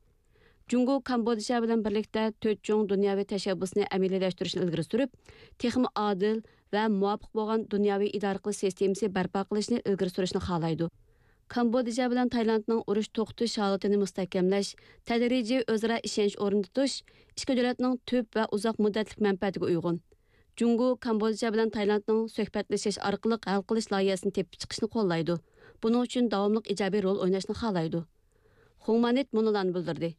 جۇڭگو كامبودژا بىلەن بىرلىكتە تۆت چوڭ دۇنياۋى تەشەببۇسنى ئەمەلىيلەشتۈرۈشنى ئىلگىرى سۈرۈپ، تېخىمۇ ئادىل ۋە مۇۋاپىق بولغان دۇنياۋى ئىدارە قىلىش سىستېمىسى بەرپا قىلىشنى ئىلگىرى سۈرۈشنى خالايدۇ. كامبودژا بىلەن تايلاندنىڭ ئۇرۇش توختىتىش ھالىتىنى مۇستەھكەملەش، تەدرىجىي ئۆزئارا ئىشەنچ ئورنىتىش ئىككى دۆلەتنىڭ تۈپ ۋە ئۇزاق مۇددەتلىك مەنپەئەتىگە ئۇيغۇن. جۇڭگو كامبودژا بىلەن تايلاندنىڭ سۆھبەتلىشىش ئارقىلىق ھەل قىلىش لايىھەسىنى تېپىپ چىقىشنى قوللايدۇ. بۇنىڭ ئۈچۈن داۋاملىق ئىجابىي رول ئويناشنى خالايدۇ. خۇڭمانىت مۇنۇلارنى بىلدۈردى: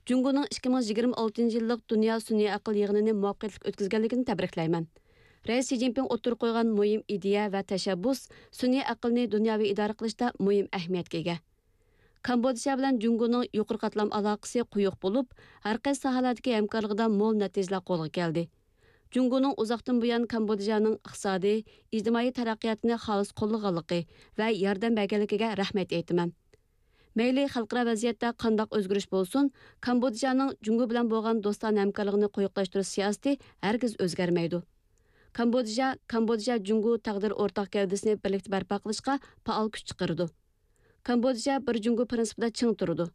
جۇڭگونىڭ ئىككى مىڭ يىگىرمە ئالتىنچى يىللىق دۇنيا سۈنئىي ئەقىل يىغىنىنى مۇۋەپپەقىيەتلىك ئۆتكۈزگەنلىكىنى تەبرىكلەيمەن. رەئىس شى جىنپىڭ ئوتتۇرىغا قويغان مۇھىم ئىدىيە ۋە تەشەببۇس سۈنئىي ئەقىلنى دۇنياۋى ئىدارە قىلىشتا مۇھىم ئەھمىيەتكە ئىگە. كامبودژا بىلەن جۇڭگونىڭ يۇقىرى قاتلام ئالاقىسى قويۇق بولۇپ، ھەر قايسى ساھەلەردىكى ھەمكارلىقىدا مول نەتىجىلەر قولغا كەلدى. جۇڭگونىڭ ئۇزاقتىن بۇيان كامبودژانىڭ ئىقتىسادىي، ئىجتىمائىي تەرەققىياتىنى خالىس قوللىغانلىقى ۋە ياردەم بەرگەنلىكىگە رەھمەت ئېيتىمەن. مەيلى خەلقئارا ۋەزىيەتتە قانداق ئۆزگىرىش بولسۇن، كامبودژانىڭ جۇڭگو بىلەن بولغان دوستانە ھەمكارلىقىنى قويۇقلاشتۇرۇش سىياسىتى ھەرگىز ئۆزگەرمەيدۇ. كامبودژا، كامبودژا جۇڭگو تەقدىر ئورتاق گەۋدىسىنى بىرلىكتە بەرپا قىلىشقا پائال كۈچ چىقىرىدۇ. كامبودژا بىر جۇڭگو پىرىنسىپىدا چىڭ تۇرىدۇ.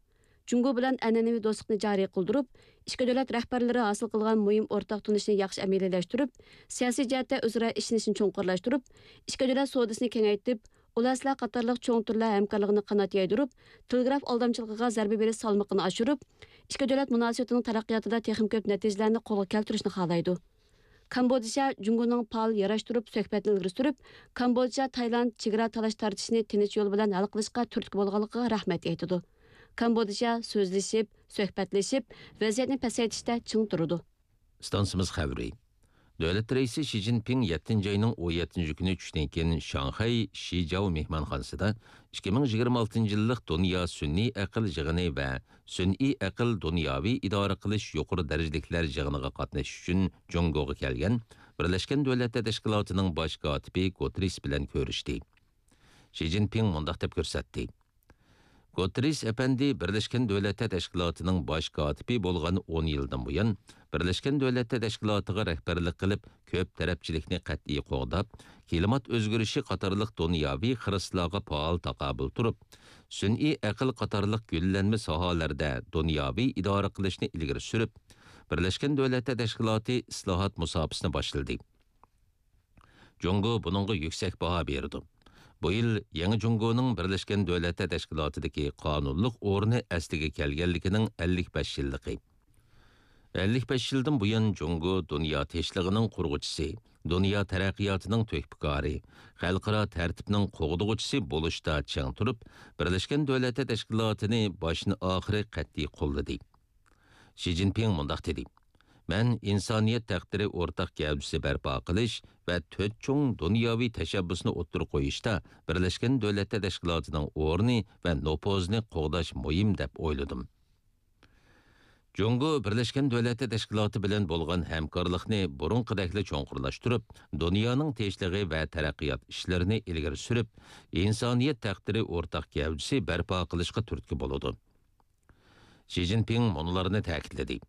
جۇڭگو بىلەن ئەنئەنىۋى دوستلۇقنى جارى قىلدۇرۇپ، ئىككى دۆلەت رەھبەرلىرى ھاسىل قىلغان مۇھىم ئورتاق تونۇشنى ياخشى ئەمەلىيلەشتۈرۈپ، سىياسىي جەھەتتە ئۆزئارا ئىشىنىشنى چوڭقۇرلاشتۇرۇپ، ئىككى دۆلەت سودىسىنى كېڭەيتىپ، ئۇل ئەسلىھە قاتارلىق چوڭ تۈرلەر ھەمكارلىقىنى قانات يايدۇرۇپ، تېلېگراف ئالدامچىلىقىغا زەربە بېرىش سالمىقىنى ئاشۇرۇپ، ئىككى دۆلەت مۇناسىۋىتىنىڭ تەرەققىياتىدا تېخىمۇ كۆپ نەتىجىلەرنى قولغا كەلتۈرۈشنى خالايدۇ. كامبودژا جۇڭگونىڭ پائال ياراشتۇرۇپ سۆھبەتنى ئىلگىرى سۈرۈپ، كامبودژا تايلاند چېگرا تالاش تارتىشىنى تىنچ يول بىلەن ھەل قىلىشقا تۈرتكە بولغانلىقىغا رەھمەت ئېيتىدۇ. كامبودژا سۆزلىشىپ، سۆھبەتلىشىپ، ۋەزىيەتنى پەسەيتىشتە چىڭ تۇرىدۇ. ئىستانسىمىز خەۋىرى. دۆلەت رەئىسى شى جىنپىڭ يەتتىنچى ئاينىڭ ئون يەتتىنچى كۈنى چۈشتىن كېيىن شاڭخەي شىجاۋ مېھمانخانىسىدا ئىككى مىڭ يىگىرمە ئالتىنچى يىللىق دۇنيا سۈنئىي ئەقىل يىغىنى ۋە سۈنئىي ئەقىل دۇنياۋى ئىدارە قىلىش يۇقىرى دەرىجىلىكلەر يىغىنىغا قاتنىشىش ئۈچۈن جۇڭگوغا كەلگەن بىرلەشكەن دۆلەتلەر تەشكىلاتىنىڭ باش كاتىپى گۇتېررېس بىلەن كۆرۈشتى. شى جىنپىڭ مۇنداق دەپ كۆرسەتتى: گۇتېررېس ئەپەندى بىرلەشكەن دۆلەتلەر تەشكىلاتىنىڭ باش كاتىپى بولغان ئون يىلدىن بۇيان، بىرلەشكەن دۆلەتلەر تەشكىلاتىغا رەھبەرلىك قىلىپ، كۆپ تەرەپچىلىكنى قەتئىي قوغداپ، كىلىمات ئۆزگىرىشى قاتارلىق دۇنياۋى خىرىسلارغا پائال تاقابىل تۇرۇپ، سۈنئىي ئەقىل قاتارلىق گۈللەنمە ساھەلەردە دۇنياۋى ئىدارە قىلىشنى ئىلگىرى سۈرۈپ، بىرلەشكەن دۆلەتلەر تەشكىلاتى ئىسلاھات مۇساپىسىنى باشلىدى. جۇڭگو بۇنىڭغا يۈكسەك باھا بېرىدۇ. بۇ يىل يېڭى جۇڭگونىڭ بىرلەشكەن دۆلەتلەر تەشكىلاتىدىكى قانۇنلۇق ئورنى ئەسلىگە كەلگەنلىكىنىڭ ئەللىك بەش يىللىقى. ئەللىك بەش يىلدىن بۇيان جۇڭگو دۇنيا تىنچلىقىنىڭ قۇرغۇچىسى، دۇنيا تەرەققىياتىنىڭ تۆھپىكارى، خەلقئارا تەرتىپنىڭ قوغدىغۇچىسى بولۇشتا چىڭ تۇرۇپ، بىرلەشكەن دۆلەتلەر تەشكىلاتىنى باشتىن ئاخىرى قەتئىي قوللىدى. شى جىنپىڭ مۇنداق دېدى: مەن ئىنسانىيەت تەقدىرى ئورتاق گەۋدىسى بەرپا قىلىش ۋە تۆت چوڭ دۇنياۋى تەشەببۇسنى ئوتتۇرىغا قويۇشتا بىرلەشكەن دۆلەتلەر تەشكىلاتىنىڭ ئورنى ۋە نوپۇزىنى قوغداش مۇھىم دەپ ئويلىدىم. جۇڭگو بىرلەشكەن دۆلەتلەر تەشكىلاتى بىلەن بولغان ھەمكارلىقنى بۇرۇنقىدەكلا چوڭقۇرلاشتۇرۇپ، دۇنيانىڭ تىنچلىقى ۋە تەرەققىيات ئىشلىرىنى ئىلگىرى سۈرۈپ، ئىنسانىيەت تەقدىرى ئورتاق گەۋدىسى بەرپا قىلىشقا تۈرتكە بولىدۇ. شى جىنپىڭ مۇنۇلارنى تەكىتلىدى.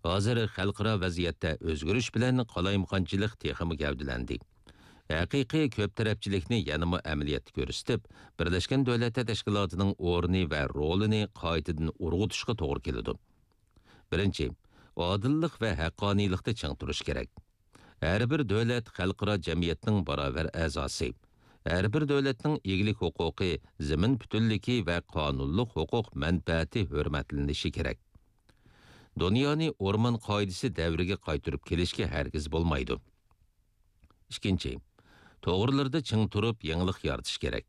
ھازىر خەلقئارا ۋەزىيەتتە ئۆزگىرىش بىلەن قالايمىقانچىلىق تېخىمۇ گەۋدىلەندى. ھەقىقىي كۆپ تەرەپچىلىكنى يەنىمۇ ئەمەلىيەتتە كۆرسىتىپ، بىرلەشكەن دۆلەتلەر تەشكىلاتىنىڭ ئورنى ۋە رولىنى قايتىدىن ئۇرغۇتۇشقا توغرا كېلىدۇ. بىرىنچى، ئادىللىق ۋە ھەققانىيلىقتا چىڭ تۇرۇش كېرەك. ھەر بىر دۆلەت خەلقئارا جەمئىيەتنىڭ باراۋەر ئەزاسى. ھەر بىر دۆلەتنىڭ ئىگىلىك ھوقۇقى، زېمىن پۈتۈنلۈكى ۋە قانۇنلۇق ھوقۇق مەنپەئەتى ھۆرمەتلىنىشى كېرەك. دۇنيانى ئورمان قائىدىسى دەۋرىگە قايتۇرۇپ كېلىشكە ھەرگىز بولمايدۇ. ئىككىنچى، توغرىلىرىدا چىڭ تۇرۇپ يېڭىلىق يارىتىش كېرەك.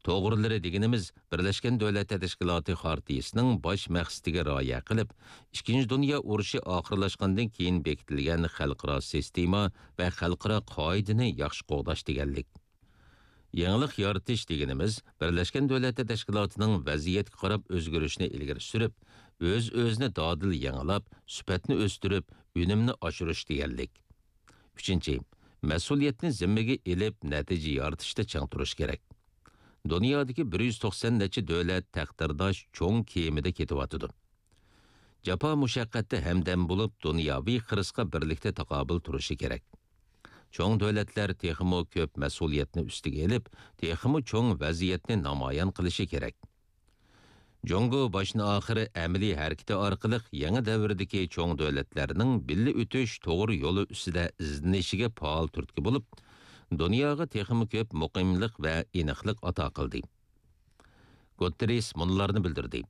توغرىلىرى دېگىنىمىز بىرلەشكەن دۆلەتلەر تەشكىلاتى خارتىيىسىنىڭ باش مەقسىتىگە رىئايە قىلىپ، ئىككىنچى دۇنيا ئۇرۇشى ئاخىرلاشقاندىن كېيىن بېكىتىلگەن خەلقئارا سىستېما ۋە خەلقئارا قائىدىنى ياخشى قوغداش دېگەنلىك. يېڭىلىق يارىتىش دېگىنىمىز بىرلەشكەن دۆلەتلەر تەشكىلاتىنىڭ ۋەزىيەتكە قاراپ ئۆزگىرىشىنى ئىلگىرى سۈرۈپ، ئۆز-ئۆزىنى دادىل يېڭىلاپ، سۈپەتنى ئۆستۈرۈپ، ئۈنۈمنى ئاشۇرۇش دېگەنلىك. ئۈچىنچى، مەسئۇلىيەتنى زىممىگە ئېلىپ، نەتىجە يارىتىشتا چىڭ تۇرۇش كېرەك. دۇنيادىكى بىر يۈز توقسان نەچچە دۆلەت تەقدىرداش چوڭ كېمىدە كېتىۋاتىدۇ. جاپا مۇشەققەتتە ھەمدەم بولۇپ، دۇنياۋى خىرىسقا بىرلىكتە تاقابىل تۇرۇشى كېرەك. چوڭ دۆلەتلەر تېخىمۇ كۆپ مەسئۇلىيەتنى ئۈستىگە ئېلىپ، تېخىمۇ چوڭ ۋەزىيەتنى نامايان قىلىشى كېرەك. جۇڭگو باشتىن-ئاخىر ئەمەلىي ھەرىكىتى ئارقىلىق يېڭى دەۋردىكى چوڭ دۆلەتلەرنىڭ بىللە ئۆتۈش توغرا يولى ئۈستىدە ئىزدىنىشىگە پائال تۈرتكە بولۇپ، دۇنياغا تېخىمۇ كۆپ مۇقىملىق ۋە ئېنىقلىق ئاتا قىلدى. گۇتتېررېس مۇنۇلارنى بىلدۈردى: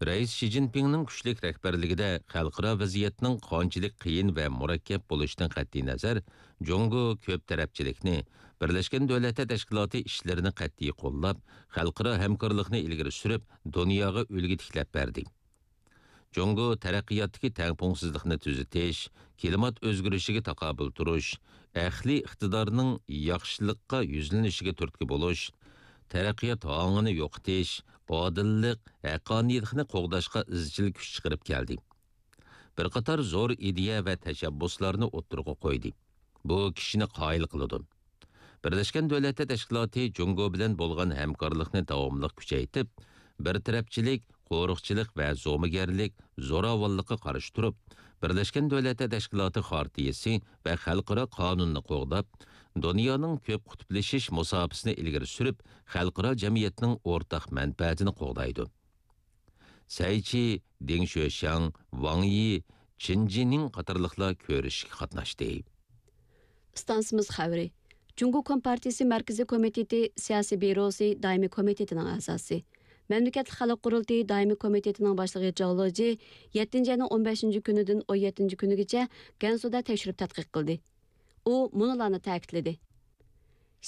رەئىس شى جىنپىڭنىڭ كۈچلۈك رەھبەرلىكىدە خەلقئارا ۋەزىيەتنىڭ قانچىلىك قىيىن ۋە مۇرەككەپ بولۇشىدىن قەتئىينەزەر، جۇڭگو كۆپ تەرەپچىلىكنى، بىرلەشكەن دۆلەتلەر تەشكىلاتى ئىشلىرىنى قەتئىي قوللاپ، خەلقئارا ھەمكارلىقنى ئىلگىرى سۈرۈپ، دۇنياغا ئۈلگە تىكلەپ بەردى. جۇڭگو تەرەققىياتتىكى تەڭپۇڭسىزلىقنى تۈزىتىش، كىلىمات ئۆزگىرىشىگە تاقابىل تۇرۇش، ئەقلىي ئىقتىدارنىڭ ياخشىلىققا يۈزلىنىشىگە تۈرتكە بولۇش، تەرەققىيات ھاڭىنى يوقىتىش، ئادىللىق، ھەققانىيلىقنى قوغداشقا ئىزچىل كۈچ چىقىرىپ كەلدى. بىر قاتار زور ئىدىيە ۋە تەشەببۇسلارنى ئوتتۇرىغا قويدى. بۇ كىشىنى قايىل قىلىدۇ. بىرلەشكەن دۆلەتلەر تەشكىلاتى جۇڭگو بىلەن بولغان ھەمكارلىقنى داۋاملىق كۈچەيتىپ، بىر تەرەپچىلىك، قورۇقچىلىق ۋە زومىگەرلىك، زوراۋانلىققا قارشى تۇرۇپ، بىرلەشكەن دۆلەتلەر تەشكىلاتى خارتىيىسى ۋە خەلقئارا قانۇننى قوغداپ، دۇنيانىڭ كۆپ قۇتۇپلىشىش مۇساپىسىنى ئىلگىرى سۈرۈپ، خەلقئارا جەمئىيەتنىڭ ئورتاق مەنپەئەتىنى قوغدايدۇ. سەي چى، دېڭ شۆشياڭ، ۋاڭ يى، چېن جىنىڭ قاتارلىقلار كۆرۈشۈشكە قاتناشتى. ئىستانسىمىز خەۋىرى. جۇڭگو كومپارتىيىسى مەركىزىي كومىتېتى سىياسىي بيۇروسى دائىمىي كومىتېتىنىڭ ئەزاسى، مەملىكەتلىك خەلق قۇرۇلتىيى دائىمىي كومىتېتىنىڭ باشلىقى جاۋ لېجى يەتتىنچى ئاينىڭ ئون بەشىنچى كۈنىدىن ئون يەتتىنچى كۈنىگىچە گەنسۇدا تەكشۈرۈپ تەتقىق قىلدى. ئۇ مۇنۇلارنى تەكىتلىدى: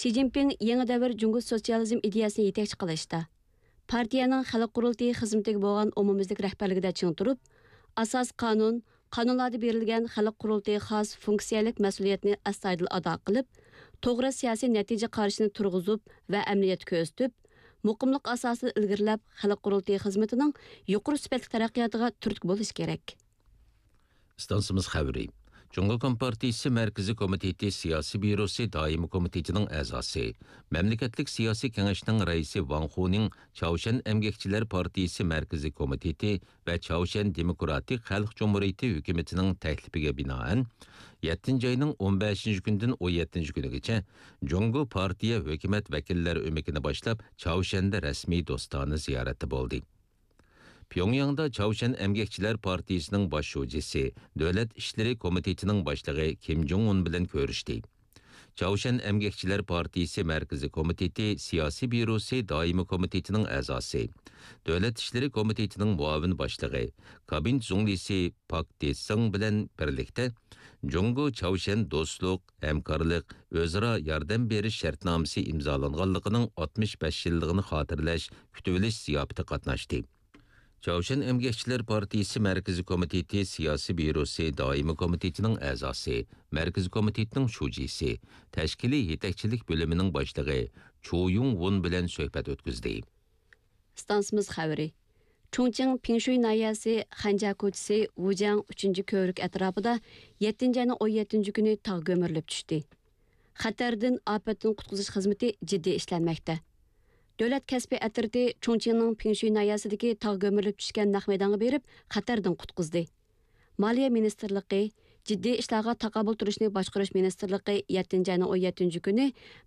شى جىنپىڭ يېڭى دەۋر جۇڭگو سوتسىيالىزم ئىدىيەسىنى يېتەكچى قىلىشتا، پارتىيەنىڭ خەلق قۇرۇلتىيى خىزمىتىگە بولغان ئومۇميۈزلۈك رەھبەرلىكىدە چىڭ تۇرۇپ، ئاساسىي قانۇن، قانۇنلاردا بېرىلگەن خەلق قۇرۇلتىيىغا خاس فۇنكسىيەلىك مەسئۇلىيەتنى ئەستايىدىل ئادا قىلىپ، توغرا سىياسىي نەتىجە قارىشىنى تۇرغۇزۇپ ۋە ئەمەلىيەتتە كۆرسىتىپ، مۇقىملىق ئاساسىدا ئىلگىرىلەپ، خەلق قۇرۇلتىيى خىزمىتىنىڭ يۇقىرى سۈپەتلىك تەرەققىياتىغا تۈرتكە بولۇشى كېرەك. ئىستانسىمىز خەۋىرى. جۇڭگو كومپارتىيىسى مەركىزىي كومىتېتى سىياسىي بيۇروسى دائىمىي كومىتېتىنىڭ ئەزاسى، مەملىكەتلىك سىياسىي كېڭەشنىڭ رەئىسى ۋاڭ خۇنىڭ چاۋشيەن ئەمگەكچىلەر پارتىيىسى مەركىزىي كومىتېتى ۋە چاۋشيەن دېموكراتىك خەلق جۇمھۇرىيىتى ھۆكۈمىتىنىڭ تەكلىپىگە بىنائەن، يەتتىنچى ئاينىڭ ئون بەشىنچى كۈنىدىن ئون يەتتىنچى كۈنىگىچە جۇڭگو پارتىيە ھۆكۈمەت ۋەكىللەر ئۆمىكىنى باشلاپ، چاۋشيەندە رەسمىي دوستانە زىيارەتتە بولدى. پيۇڭياڭدا چاۋشيەن ئەمگەكچىلەر پارتىيىسىنىڭ باش شۇجىسى، دۆلەت ئىشلىرى كومىتېتىنىڭ باشلىقى كىم جۇڭ ئۇن بىلەن كۆرۈشتى. چاۋشيەن ئەمگەكچىلەر پارتىيىسى مەركىزىي كومىتېتى سىياسىي بيۇروسى دائىمىي كومىتېتىنىڭ ئەزاسى، دۆلەت ئىشلىرى كومىتېتىنىڭ مۇئاۋىن باشلىقى، كابىنېت زۇڭلىسى پاك دېسىڭ بىلەن بىرلىكتە جۇڭگو چاۋشيەن دوستلۇق، ھەمكارلىق، ئۆزئارا ياردەم بېرىش شەرتنامىسى ئىمزالانغانلىقىنىڭ ئاتمىش بەش يىللىقىنى خاتىرىلەش كۈتۈۋېلىش زىياپىتىگە قاتناشتى. چاۋشيەن ئەمگەكچىلەر پارتىيىسى مەركىزىي كومىتېتى سىياسىي بيۇروسى دائىمىي كومىتېتىنىڭ ئەزاسى، مەركىزىي كومىتېتنىڭ شۇجىسى، تەشكىلىي يېتەكچىلىك بۆلۈمىنىڭ باشلىقى چۇ يۇڭ ۋۇن بىلەن سۆھبەت ئۆتكۈزدى. ئىستانسىمىز خەۋىرى. چۇڭچىڭ پىڭشۇي ناھىيەسى خەنجيا كوچىسى ۋۇجياڭ ئۈچىنچى كۆۋرۈك ئەتراپىدا يەتتىنچى ئاينىڭ ئون يەتتىنچى كۈنى تاغ كۆمۈرۈلۈپ چۈشتى. خەتەردىن ئاپەتتىن قۇتقۇزۇش خىزمىتى جىددىي ئىشلەنمەكتە. دۆلەت كەسپىي ئەترىتى چۇڭچىڭنىڭ پىڭشۇي ناھىيەسىدىكى تاغ كۆمۈرۈلۈپ چۈشكەن نەق مەيدانغا بېرىپ، خەتەردىن قۇتقۇزدى. مالىيە مىنىستىرلىقى، جىددىي ئىشلارغا تاقابىل تۇرۇشنى باشقۇرۇش مىنىستىرلىقى يەتتىنچى ئاينىڭ ئون يەتتىنچى كۈنى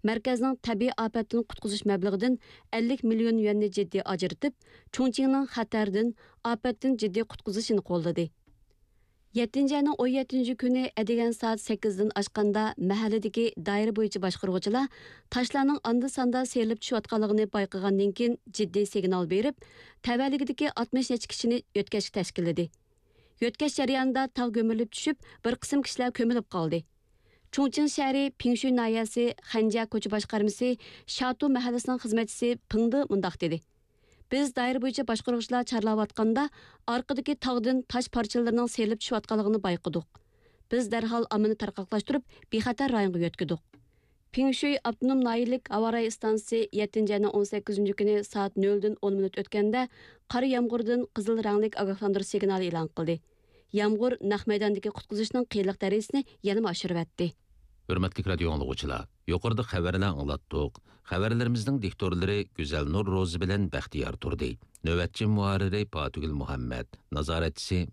مەركەزنىڭ تەبىئىي ئاپەتتىن قۇتقۇزۇش مەبلىغىدىن ئەللىك مىليون يۈەننى جىددىي ئاجرىتىپ، چۇڭچىڭنىڭ خەتەردىن، ئاپەتتىن جىددىي قۇتقۇزۇشىنى قوللىدى. يەتتىنچى ئاينىڭ ئون يەتتىنچى كۈنى ئەتىگەن سائەت سەككىزدىن ئاشقاندا مەھەللىدىكى دائىرە بويىچە باشقۇرغۇچىلار تاشلارنىڭ ئاندا-ساندا سىيرىلىپ چۈشۈۋاتقانلىقىنى بايقىغاندىن كېيىن جىددىي سىگنال بېرىپ، تەۋەلىكىدىكى ئاتمىش نەچچە كىشىنى يۆتكەشكە تەشكىللىدى. يۆتكەش جەريانىدا تاغ كۆمۈرۈلۈپ چۈشۈپ، بىر قىسىم كىشىلەر كۆمۈلۈپ قالدى. چۇڭچىڭ شەھىرى پىڭشۈي ناھىيەسى خەنجيا كوچا باشقارمىسى شاتۇ مەھەللىسىنىڭ خىزمەتچىسى پېڭدې مۇنداق دېدى: بىز دائىرە بويىچە باشقۇرغۇچىلار چارلاۋاتقاندا، ئارقىدىكى تاغدىن تاش پارچىلىرىنىڭ سىيرىلىپ چۈشۈۋاتقانلىقىنى بايقىدۇق. بىز دەرھال ئاممىنى تارقاقلاشتۇرۇپ، بىخەتەر رايونغا يۆتكىدۇق. پىڭشۈي ئاپتونوم ناھىيەلىك ھاۋارايى ئىستانسىسى يەتتىنچى ئاينىڭ ئون سەككىزىنچى كۈنى سائەت نۆلدىن ئون مىنۇت ئۆتكەندە، قارا يامغۇردىن قىزىل رەڭلىك ئاگاھلاندۇرۇش سىگنالى ئېلان قىلدى. يامغۇر نەق مەيداندىكى قۇتقۇزۇشنىڭ قىيىنلىق دەرىجىسىنى يەنىمۇ ئاشۇرۇۋەتتى. ھۆرمەتلىك رادىيو ئاڭلىغۇچىلار، يۇقىرىدا خەۋەرلەر ئاڭلاتتۇق. خەۋەرلىرىمىزنىڭ دىكتورلىرى گۈزەلنۇر روزى بىلەن بەختىيار تۇردى. نۆۋەتچى مۇھەررىرى پاتىگۈل مۇھەممەد، نازارەتچىسى